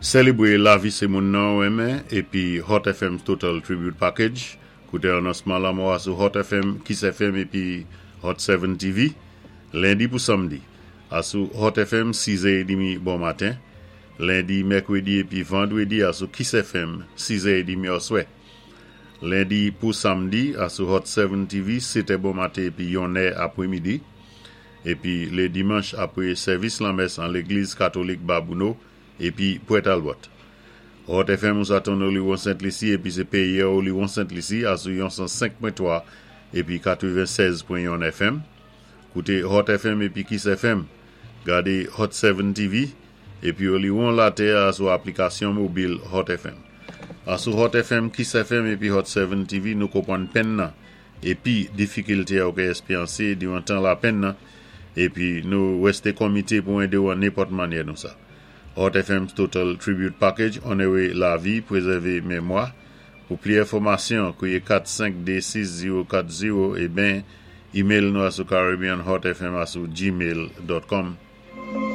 Sélébwé lavi sé moun-nan ou renmen épi Hot FM's Total Tribute Package. Kouté anonsman lanmò a sou Hot FM, Kiss FM épi Hot 7 TV, lendi pou samdi. Asou Hot FM 6 è édmi bon maten, lendi, mèkwédi épi vandwédi asou Kiss FM 6 è édmi oswè. Lendi pou samdi asou Hot 7 TV 7 è bon maten épi 1 è apwémidi. Épi lé dimanch apwé sèvis lanmès an légliz katolik Babouno épi Pwè Talbot. Hot FM ou sa tann Oliwon Sent Lisi épi sé péyi Oliwon Sent Lisi asou yon 105.3 épi 96.1 FM. Kouté Hot FM épi Kiss FM. Gadé Hot 7 TV épi Oliwon Latè asou aplikasyon mobil Hot FM. Asou Hot FM, Kiss FM épi Hot 7 TV nou konpwann penn-nan épi difikilté ou ka èspéryansé diwan tan lapenn-nan épi nou wèsté konmité pou édé-ou an nenpòt mannyè nou sa. Hot FM's Total Tribute Package onoré lavi, pwézèvé mémwa. Pou pli enfòmasyon, kwiyé 4 5 2 6 0 4 0 é ben email nou asou caribbeanhotfm@gmail.com.